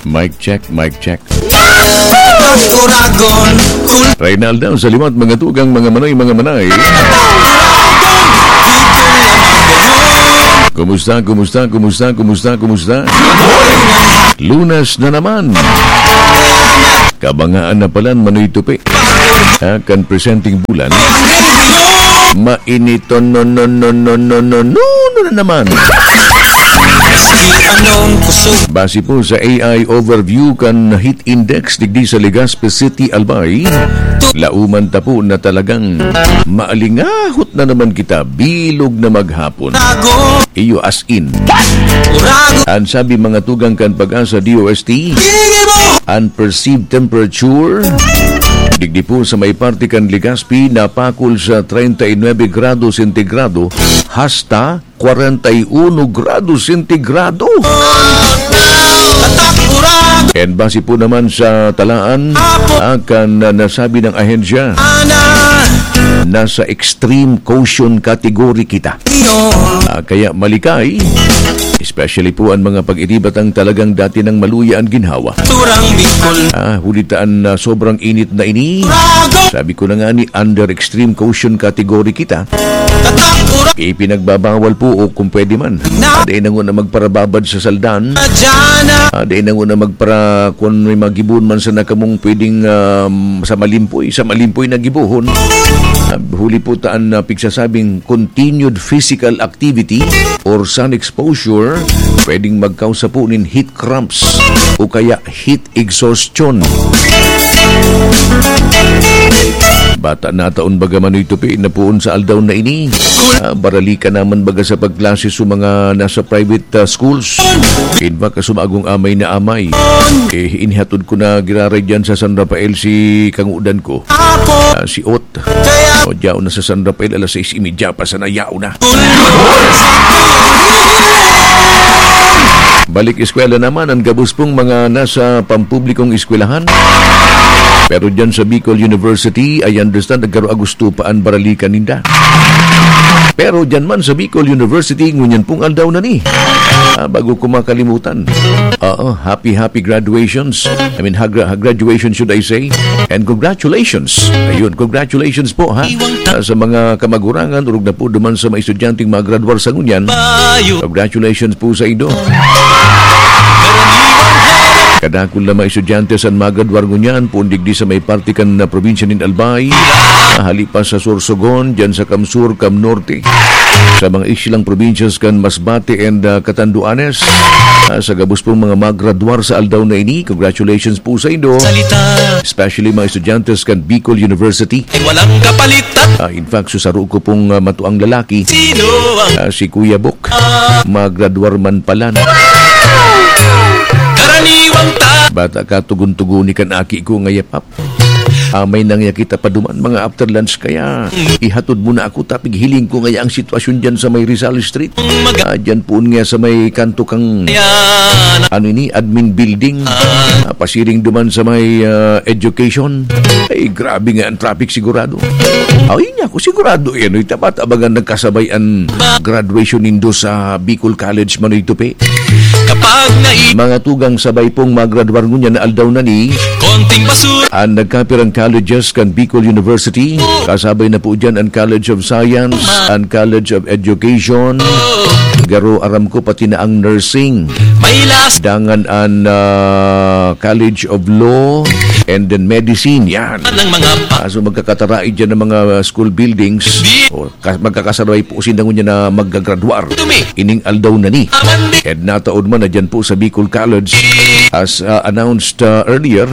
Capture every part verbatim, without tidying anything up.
Mic check, mic check. Reynaldo, sa liwat, mga tugang, mga manay, mga manay. Kumusta, kumusta, kumusta, kumusta, kumusta? Lunes na naman. Kabangaan na palan, Manoy Tupi. Ha, kan presenteng bulan. Mainiton, no, no, no, no, no, no, no, no na naman. Base po sa A I overview kan heat index digdi sa Legazpi City, Albay, lauman ta po na talagang maalingahot na naman kita, bilog na maghapon. Iyo, as in. An sabi mga tugang kan Pag-asa D O S T, an perceived temperature digdi po sa may parte kan Legazpi napakol sa treinta y nueve grado sentigrado hasta kwarenta y uno grado sentigrado. And base po naman sa talaan, akan na nasabi ng ahensya, nasa extreme caution category kita. Ah, kaya malikay, especially po ang mga pag-iribatang talagang dati nang maluya ang ginhawa. Turang Bicol. Ah, huli ta an, ah, sobrang init na ini. Rago. Sabi ko na nga ni, under extreme caution category kita. Tatak, ura. Ipinagbabawal po o kung pwede man. Na. Dai na nguna magparababad sa saldan. Adyan na. Ah, dai na nguna magpara-, kung may magibon man sana kamong pwedeng, um, sa malimpoy, sa malimpoy na gibohon. Ah, huli po taan na pigsasabing continued physical activity or sun exposure, pwedeng magkausa po nin heat cramps o kaya heat exhaustion. Bata na taon baga Manoy Tupi na poon sa aldaw na ini. Ah, barali ka naman baga sa pagklase sa mga nasa private, ah, schools. Kinba ka sumagong amay na amay. Eh, inihatod ko na giraray dyan sa San Rafael si kangudan ko. Ah, si Ot. O, diyaw na sa San Rafael, alas sais y media pa sana, yaw na. Balik eskwela naman ang gabos pong mga nasa pampublikong eskwelahan. Pero dyan sa Bicol University, I understand, nagkaro Agosto pa an baralikan ninda. Pero dyan man sa Bicol University, ngunyan pong aldaw na ni. Ah, bago ko makalimutan. Oo, happy, happy graduations. I mean, hagra-, ha-, graduation, should I say. And congratulations. Ayun, congratulations po, ha. Ah, sa mga kamagurangan, urog na po duman sa mga estudyanteng magradwar sa ngunyan. Congratulations po sa indo. Kadakul na mga estudyante san magradwar ngunyan, poon digdi sa may parte kan, ah, probinsya nin Albay. Ah, hali pa sa Sorsogon, dyan sa Cam Sur, Cam Norte. Sa mga isilang probinsyas kan Masbate and, ah, Catanduanes, ah, sa gabos pong mga magradwar sa aldaw na ini, congratulations po sa indo. Salita. Especially mga estudyante kan Bicol University. Ay walang kapalitan. Ah, in fact, susaro ko pong, ah, matuang lalaki. Sino ang Ah, si Kuya Bok. Ah. Magradwar man palan. Karaniwang ta- Bata ka, tugon-tugoni kan aki ko nga yapap. Amay nang yakita pa duman, mga after lunch kaya, ihatod mo na ako, tapig hiling ko ngaya ang sitwasyon dyan sa may Rizal Street. Ah, dyan poon nga sa may kanto kang, ano ini, admin building. Ah, pasiring duman sa may, ah, education. Ay, grabe nga ang traffic sigurado. Ay, niya ako, sigurado yan. Uy, tama, tabangan nagkasabay ang graduation nindo sa Bicol College, Manoy Tupi. Kapag nai- Mga tugang sabay pong magradwar ngunyan na aldaw na ni. Konting basura. Ang nagkapirang colleges kan Bicol University, kasabay na po dyan ang College of Science, ang College of Education, garo aram ko pati na ang nursing. May last. Dangan ang, ah, College of Law, and then Medicine. Yan. Ng mga pa- Ah, so magkakatarai dyan ng mga school buildings. Di- O, Ka-, magkakasabay po sinda ngunyan na maggagraduar. Ining aldaw na ni. And nataon man na dyan po sa Bicol College, as, uh, announced, uh, earlier,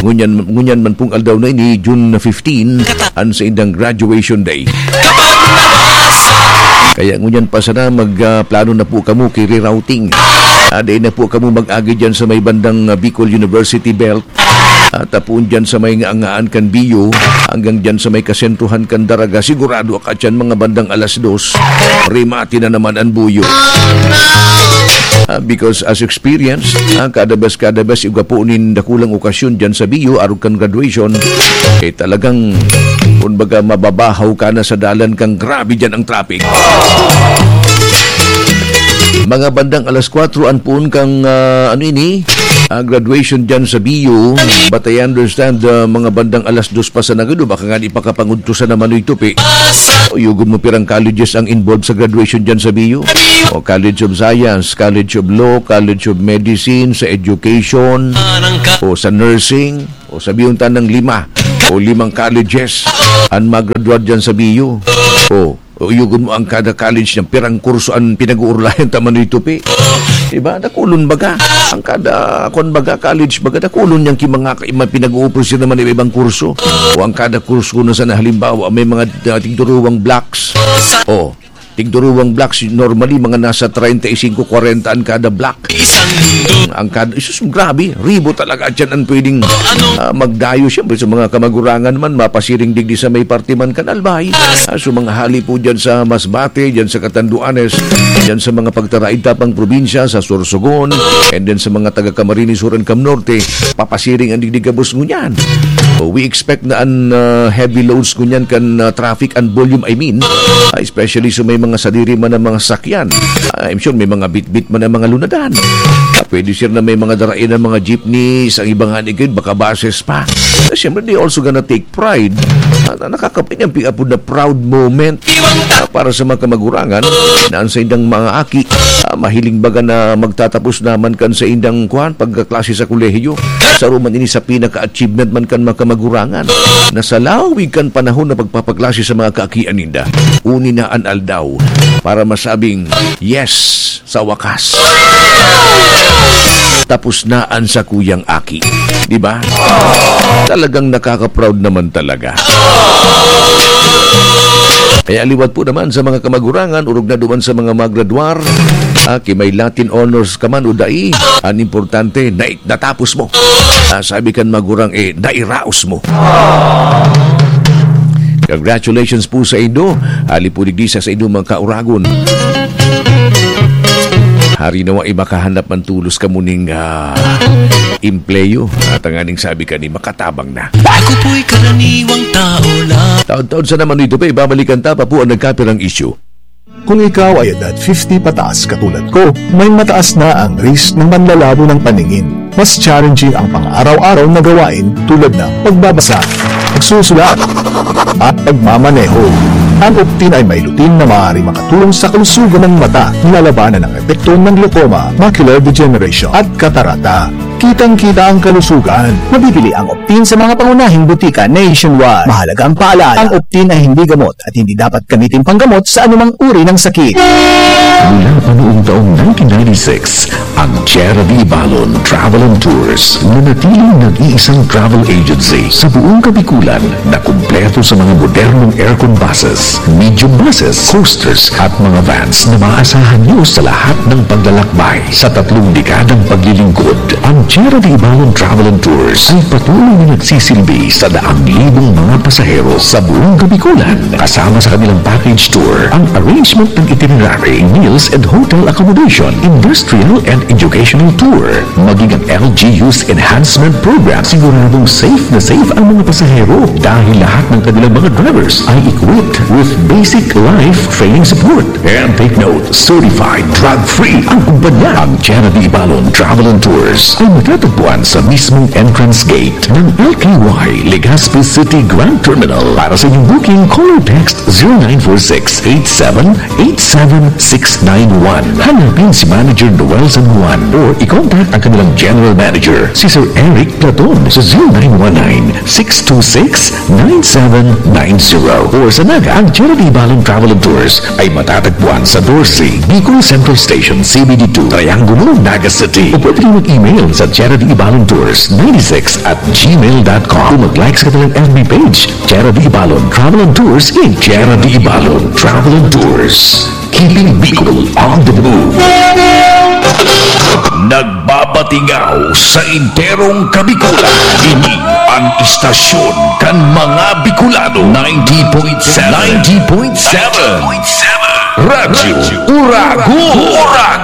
ngunyan, ngunyan man pong aldaw na ini, June fifteen, an saindang graduation day. Kaya ngunyan pa sana mag, uh, plano na po kamo ki rerouting. Ah, dai na po kamo mag-agi dyan sa may bandang, uh, Bicol University Belt. At tapoon dyan sa may ngaangaan kan Bio, hanggang dyan sa may kasentruhan kan Daraga, sigurado ka dyan mga bandang alas dos, rimati na naman ang buyo. Ah, because as experience, ah, kada bes, kada bes, igwa po nin dakulang okasyon dyan sa Bio, arog kan graduation, eh talagang, kumbaga, mababahaw ka na sa dalan kang grabe dyan ang traffic. Mga bandang alas kwatro an poon kan, ah, ano ini, ah, graduation diyan sa B U. But I understand, ah, mga bandang alas dos pa sana gado, baka nga di pa kapangudto sa naman ito, Pi. O, yugon mo pirang colleges ang involved sa graduation diyan sa B U. O, College of Science, College of Law, College of Medicine, sa education, o sa nursing, o sabihin ta ng lima, o limang colleges ang maggraduate diyan sa B U. O, o, yugon mo ang kada college niya, pirang kurso ang pinag-uurlayan ta man ito, Pi. Diba? Dakulon baga. Ang kada, kwan baga, college baga, dakulon niyang ki-, mga, mga pinag-uupos naman iba-ibang kurso. O ang kada kurso na sana, halimbawa, may mga, ah, tigduruwang blocks. O, tigduruwang blocks, normally, mga nasa treinta y cinco, kwarenta ang kada block. Ang kada, isus, grabe, ribo talaga at yan ang pwedeng, ah, magdayo. Siyempre, sa mga kamagurangan man, mapasiring digdi sa may parte man kan Albay. Ah, so, mga hali po dyan sa Masbate, dyan sa Catanduanes, dyan sa mga pagtaraid ta pang probinsya, sa Sorsogon, and then sa mga taga Camarines Sur and Cam Norte, papasiring ang digdi gabos ngunyan. So, we expect na an, ah, heavy loads ngunyan kan, ah, traffic and volume, I mean, ah, especially sa may mga sadiri man ang mga sakyan. Ah, I'm sure may mga bitbit man ang mga lunadan. Ah, pwede, sir, na may mga darain ang mga jeepneys, ang iba nga ni Gid, baka buses pa. Ah, siyempre, they also gonna take pride. Ah, na nakakapit niyang piapod na proud moment, ah, para sa mga kamagurangan na ang saindang mga aki, ah, mahiling baga na magtatapos naman kan saindang, kwan, pagkaklase sa kolehiyo. Sa ruman ini sa pinaka-achievement man kan mga kamagurangan na sa lawig kan panahon na pagpapaklase sa mga kaakian ninda, uni na an aldaw para masabing, "Yes, sa wakas, tapos na an sakuyang aki." Di ba? Talagang nakaka-proud naman talaga. Kaya liwat po naman sa mga kamagurangan, orog na duman sa mga magradwar, ah, ki may Latin honors ka man o dai, an importante, na Natapos mo. Ah, sabi kan magurang, eh, nairaos mo. Congratulations po sa indo. Hali po digdi sa, sa indo mga kauragon. Hari nawa, eh, makahanap man tulos kamo ning, ah, empleyo. At ang aning sabi kani, makatabang na. Ako po'y karaniwang tao lang. Taon-taon sa naman ito pa, ibabalikan ta pa po ang nagkapirang isyu. Kung ikaw ay edad fifty pataas katulad ko, may mataas na ang risk ng panlalabo ng paningin. Mas challenging ang pang-araw-araw na gawain tulad ng pagbabasa, pagsusulat, at pagmamaneho. Ang Optin ay may lutein na maaari makatulong sa kalusugan ng mata, nilalabanan ang epekto ng glaucoma, macular degeneration, at katarata. Kitang-kita ang kalusugan. Mabibili ang Optin sa mga pangunahing butika nationwide. Mahalaga ang paalala, ang Optin ay hindi gamot at hindi dapat gamitin panggamot sa anumang uri ng sakit. Mula pa noong taong nineteen ninety-six, ang Tierra de Ibalon Travel and Tours, nanatiling nag-iisang travel agency sa buong Kabikulan na kumpleto sa mga modernong aircon buses, medium buses, coasters, at mga vans na maaasahan nyo sa lahat ng paglalakbay. Sa tatlong dekadang paglilingkod, ang Tierra de Ibalon Travel and Tours ay patuloy na nagsisilbi sa daang libong mga pasahero sa buong Kabikulan, kasama sa kanilang package tour, ang arrangement ng itinerary, meals and hotel accommodation, industrial and educational tour, maging ang L G U's enhancement program. Siguradong safe na safe ang mga pasahero dahil lahat ng kanilang mga drivers ay equipped with basic life training support. And take note, certified drug-free ang kumpanya. Ang Tierra de Ibalon Travel and Tours ay matatagpuan sa mismong entrance gate ng L K Y Legazpi City Grand Terminal. Para sa inyong booking, call or text zero nine four six eight seven eight seven six nine one. Hanapin si Manager Noel San Juan or i-contact ang kanilang General Manager, si Sir Eric Platon, sa zero nine one nine six two six nine seven nine zero. Or sa Naga, ang Tierra de Ibalon Travel and Tours ay matatagpuan sa doce, Bicol Central Station, C B D two, Triangulo, Naga City. O pwede rin mag-email sa Tierra de Ibalon Tours ninety-six at gmail dot com. O mag-like sa kanilang F B page, Tierra de Ibalon Travel and Tours in Tierra de Ibalon Travel and Tours. Keeping Bicol on the move. Nagbabatingaw sa enterong Kabikulan. Ini ang istasyon kan mga Bicolano. Ninety point seven. Ninety point seven. Radyo Uragon. Uragon.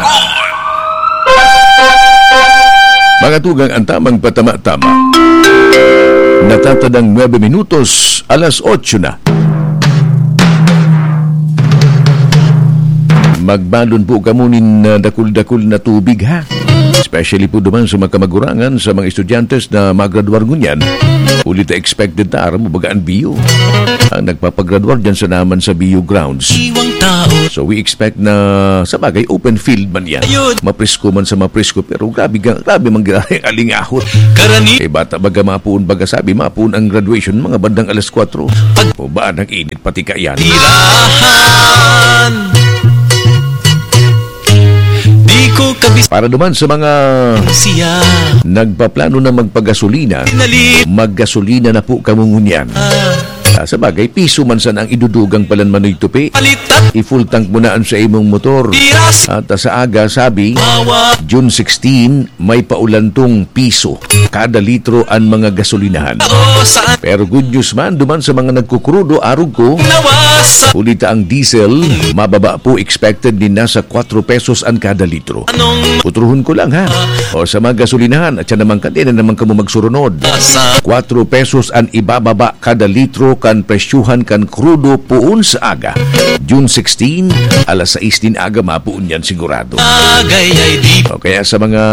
Mga tugang, ang tamang patama-tama. Natatadang nuebe minutos, alas otso na. Magbalon po kamo nin, ah, dakul-dakul na tubig, ha? Especially po duman sa mga kamagurangan, sa mga estudyante na magradwar ngunyan. Huli ta expected ta, aram mo baga an B U. Ang nagpapagradwar dyan sa naman sa B U grounds. Iwang tao. So we expect na, sa bagay, open field man yan. Ayun. Mapresko man sa mapresko, pero grabe, ga- grabe man grabe ang alingahot. Karani- Eh, bata baga mapuon, baga sabi, mapuon ang graduation, mga bandang alas kwatro. Pag- O ba, nag-init pati kaiyan. Tirahan. Di ko kabis- Para duman sa mga siya. Nagpaplano na magpagasolina, Pinalit. Maggasolina na po kamo ngunyan. Ah. Ah, sa bagay, piso man sana ang idudugang palan Manoy Tupi. Palit at I-full tank mo na ang sa imong motor. Piras. At sa aga, sabi, Mawa. June sixteen, may paulantong piso kada litro an mga gasolinahan. Oo, saan Pero good news man, duman sa mga nagkukrudo, arog ko, nawasa. Huli ta ang diesel, mababa po expected ni nasa kwatro pesos an kada litro. Anong Putrohon ko lang ha. O sa mga gasolinahan, at siya naman kadena naman kamo magsurunod. Sa Kwatro pesos an ibababa kada litro kan presyuhan kan krudo poon sa aga. June sixteen, alas sais nin aga, mapoon yan sigurado. Bagay ay di O kaya sa mga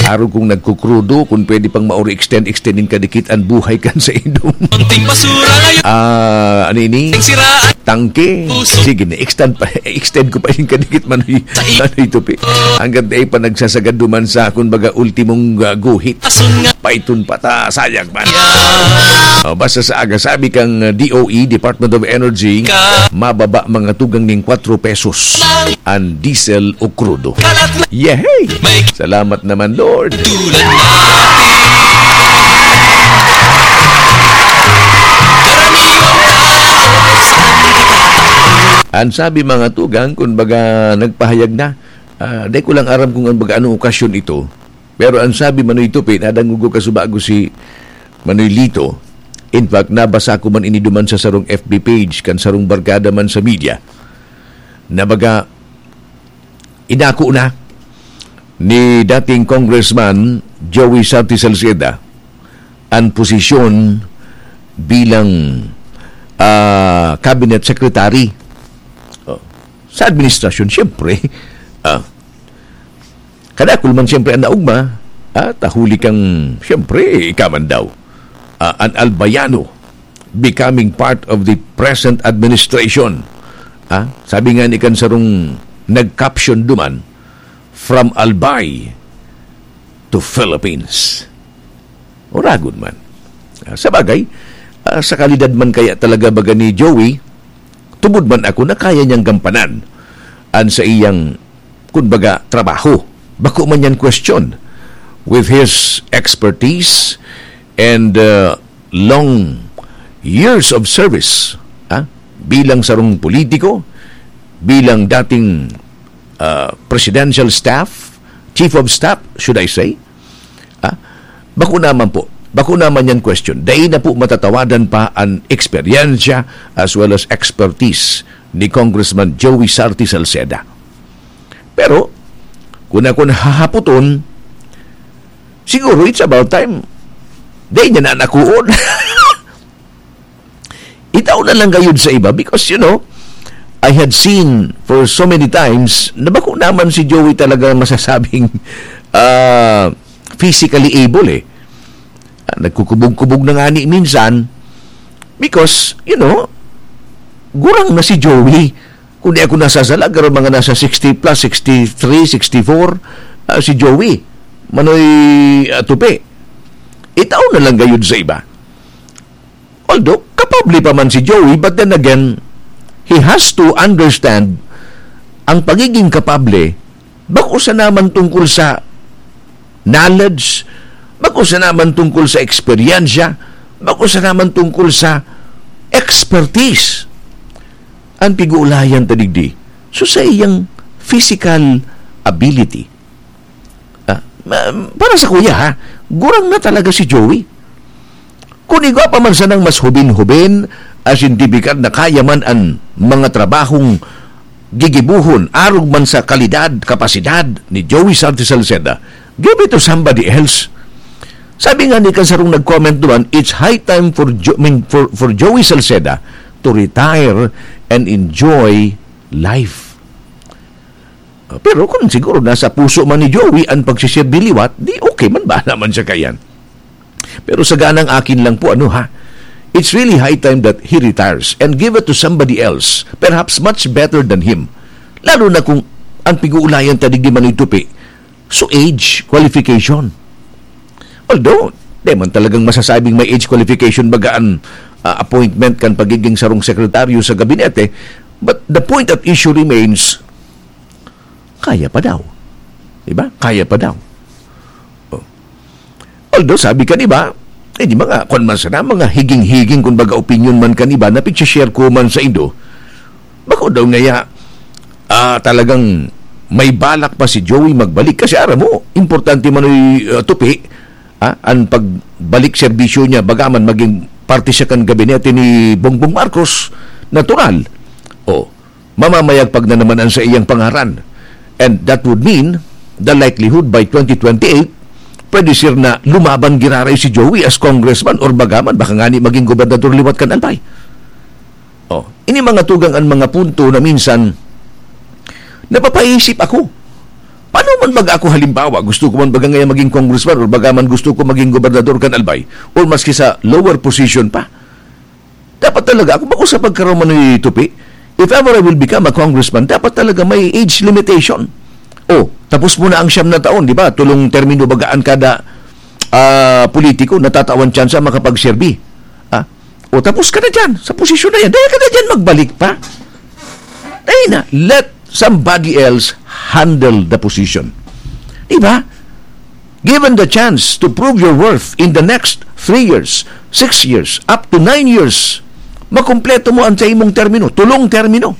arog kong nagkukrudo, kung pwede pang mauri extend, extendin kadikit an buhay kan sa idong. Konting basura ngayon. Ah, ano ini? Siraan. Tangke. Puso. Sige na, extend pa, extend ko pa yung kadikit Manoy, Sa i- Manoy Tupi. Hanggang dai pa nagsasagad duman sa, kumbaga, ultimong, ah, guhit. Asun nga. Paiton pa ta, sayang man. Yeah. O, basta sa aga, sabi kang, ah, D O E, Department of Energy, Ka- mababa mga tugang ning kwatro pesos an diesel o krudo. Kalat na Yehey! May Salamat naman, Lord. Tulad natin. Karaniwang tao. Ang sabi mga tugang, kun baga nagpahayag na, ah, di ko lang aram kung ang baga anong okasyon ito. Pero ang sabi Manoy Tupi, nadangog ko kasubago si Manoy Lito. In fact, nabasa ko man ini duman sa sarong F B page, kan sarong barkada man sa media, na baga, inako na ni dating Congressman Joey Sarti Salceda ang posisyon bilang, ah, cabinet secretary. Oh. Sa administrasyon, siyempre, ah, kadakul man siyempre ang naugma, ah, tahuli kang, siyempre, ika man daw, ah, an Albayano becoming part of the present administration. Ah, sabi nga ni kan sarong nag-caption duman, "From Albay to Philippines." Oragon man. Ah, sa bagay, ah, sa kalidad man kaya talaga baga ni Joey, tubod man ako na kaya niyang gampanan an sa iyang, kumbaga, trabaho. Bako man yan question. With his expertise and, uh, long years of service, ah, bilang sarong politiko, bilang dating, uh, presidential staff, chief of staff, should I say, ah, bako naman po, bako naman yan question. Dai na po matatawadan pa an eksperyensya as well as expertise ni Congressman Joey Sarti Salceda. Pero, kung ako nahahapoton, siguro it's about time. Dai niya na nakuon. Itao na lang gayud sa iba because, you know, I had seen for so many times na bako naman si Joey talaga masasabing, ah, physically able eh. Ah, nagkukubog-kubog na nga ni minsan because, you know, gurang na si Joey. Kung di ako nasasala, garo mga nasa sixty plus, sixty-three, sixty-four, ah, si Joey. Manoy, ah, Tupi. Itao na lang gayud sa iba. Although, kapable pa man si Joey, but then again, he has to understand ang pagiging kapable, bako sa naman tungkol sa knowledge, bako sa naman tungkol sa eksperyensya, bako sa naman tungkol sa expertise. Ang pig-uulayan ta digdi, so sa iyang physical ability. Ah, ma- para sa kuya ha, gurang na talaga si Joey. Kung igwa pa man sanang mas hubin-hubin, asin tipikal na kaya man an mga trabahong gigibohon, arog man sa kalidad, kapasidad ni Joey Santos Salceda, give it to somebody else. Sabi nga ni kasarong nag-comment duman, "It's high time for, jo- I mean, for, for Joey Salceda to retire and enjoy life." Ah, pero kung siguro nasa puso man ni Joey ang pagsisirbi liwat, di okay man, bahala man siya kaiyan. Pero sa ganang akin lang po, ano ha, it's really high time that he retires and give it to somebody else, perhaps much better than him. Lalo na kung ang pig-uulayan ta digdi, Manoy Tupi, so age qualification. Although, di man talagang masasabing may age qualification baga an, ah, appointment kan pagiging sarong sekretaryo sa gabinete, but the point at issue remains, kaya pa daw. Di ba? Kaya pa daw. Oh. Although, sabi kan iba, eh, di mga, kwan man sana, mga higing-higing, kung baga, opinion man kan iba, na pag-share ko man sa indo, bako daw ngaya, ah, talagang may balak pa si Joey magbalik. Kasi aram mo, importante man, Manoy, ah, Tupi, ah, ang pagbalik serbisyo niya, bagaman maging parte siya kan gabinete ni Bongbong Marcos, natural. Oh, mamamayagpag na naman ang sa iyang pangaran. And that would mean, the likelihood by twenty twenty-eight, pwede, sir, na lumaban giraray si Joey as congressman or bagaman, baka ngani maging gobernador liwat kan Albay. Oh, ini mga tugang an mga punto na minsan napapaisip ako. Paano man baga ako, halimbawa, gusto ko man baga ngayon maging congressman or bagaman gusto ko maging gobernador kan Albay or maski sa lower position pa? Dapat talaga, ako bako sa pagkaroon man ni Tupi, if ever I will become a congressman, dapat talaga may age limitation. Oh, tapos mo na ang siyam na taon, di ba? Tulong termino baga an kada, ah, politiko natatawan tsansa makapagserbi. Ah, o tapos ka na dyan, sa posisyon na yan. Dahil ka na dyan, magbalik pa. Dahil na, let somebody else handle the position. Di ba? Given the chance to prove your worth in the next three years, six years, up to nine years, makumpleto mo ang sa imong termino, tulong termino.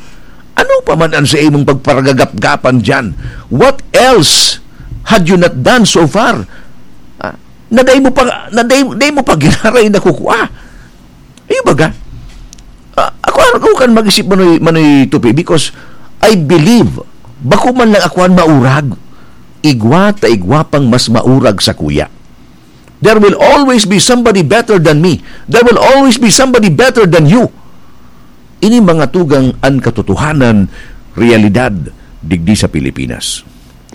Ano pa man ang sa imong pagparagagapgapan dyan? What else had you not done so far? Ah, na dai mo pa, na dai, dai mo pa giraray nakukua. Iyo baga? Ah, ako, ako kan mag-isip, Manoy, Manoy Tupi, because I believe, bako man lang ako an maurag, igwa ta igwa pang mas maurag sakuya. There will always be somebody better than me. There will always be somebody better than you. Ini mga tugang an katotohanan, realidad, digdi sa Pilipinas.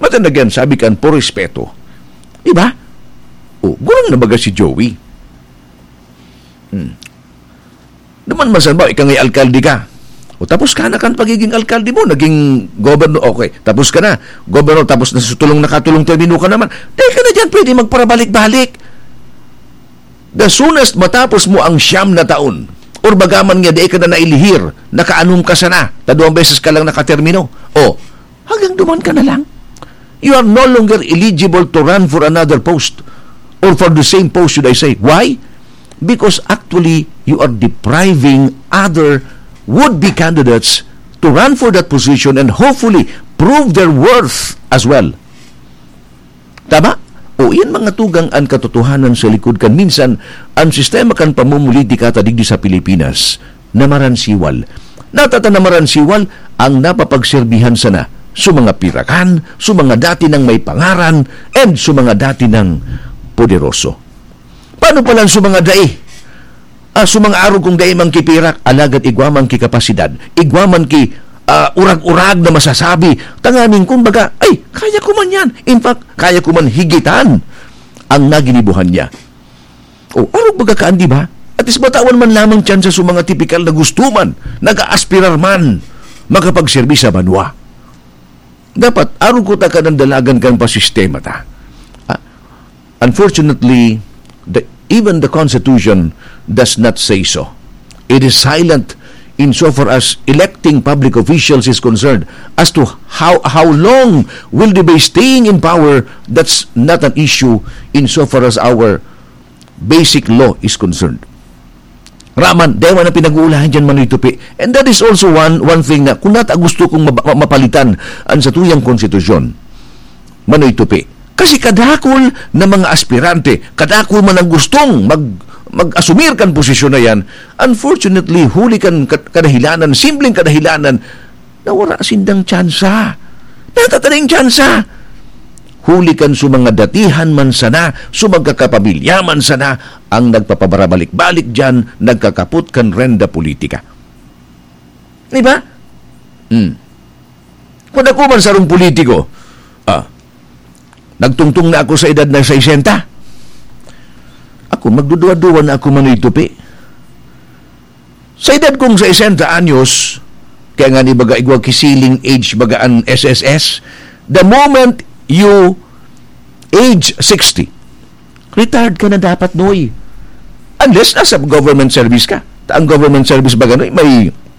But then again, sabi kan, por respeto. Di ba? O, gurang na baga si Joey. Hmm. Duman man saan ba, ika nga'y alkalde ka. O, tapos ka na kan pagiging alkalde mo, naging governor, okay, tapos ka na, governor, tapos na sa tulong, nakatulong termino ka naman. Dahil ka na dyan, pwede magparabalik-balik. The soonest matapos mo ang siyam na taon, or bagaman nga, di ka na nailihir, nakaanom ka sana, ta duwang beses ka lang nakatermino. O, hanggang duman ka na lang. You are no longer eligible to run for another post, or for the same post, should I say. Why? Because actually, you are depriving other would-be candidates to run for that position and hopefully prove their worth as well. Tama? O, iyan mga tugang an katotohanan sa likod kan minsan an sistema kan pamumulitika ta digdi sa Pilipinas na maransiwal. Natata na maransiwal ang napapagserbihan sana sa mga pirakan, sa mga dati nang may pangaran, and sa mga dati nang poderoso. Paano pala sa mga dai? Ah, sa mga arog kong dai man ki pirak, alagad igwa man ki kapasidad, igwa man ki, ah, urag-urag na masasabi, tanganing kumbaga, "Ay, kaya ko man yan. In fact, kaya ko man higitan ang naginibuhan niya." O, arog baga kaan, di ba? At least matawan man lamang tsansa sa mga tipikal na gusto man, nag-aaspirar man, makapagserbi sa banwa. Dapat, arog ko ta ka nang dalagan kan pasistema ta. Ah, unfortunately, the, even the Constitution does not say so. It is silent insofar as electing public officials is concerned. As to how, how long will they be staying in power, that's not an issue insofar as our basic law is concerned. Raman, dai man ang pinag-uulahan dyan, Manoy Tupi. And that is also one, one thing na kung nata gusto kong maba-, ma-, mapalitan ang satuyang konstitusyon, Manoy Tupi. Kasi kadakul na mga aspirante, kadakul man ang gustong mag-, mag-asumir kan posisyon na yan, unfortunately, huli kan ka-, kadahilanan, simpleng kadahilanan, na wara sindang tsansa. Natatanay tsansa. Huli kan sa mga datihan man sana, sa magkakapamilya man sana, ang nagpapabarabalik-balik dyan, nagkakapot kan renda politika. Di ba? Hmm. Kung ako man sarong politiko, ah, nagtungtong na ako sa edad na sesenta. Ako, magduduwa-duwa na ako manoy tupi. Sa edad kong sesenta anyos, kaya nga ni baga igwa ki ceiling age baga an S S S, the moment you age sixty, retired ka na dapat, Noy. Unless nasa government service ka. Ta ang government service baga, Noy, may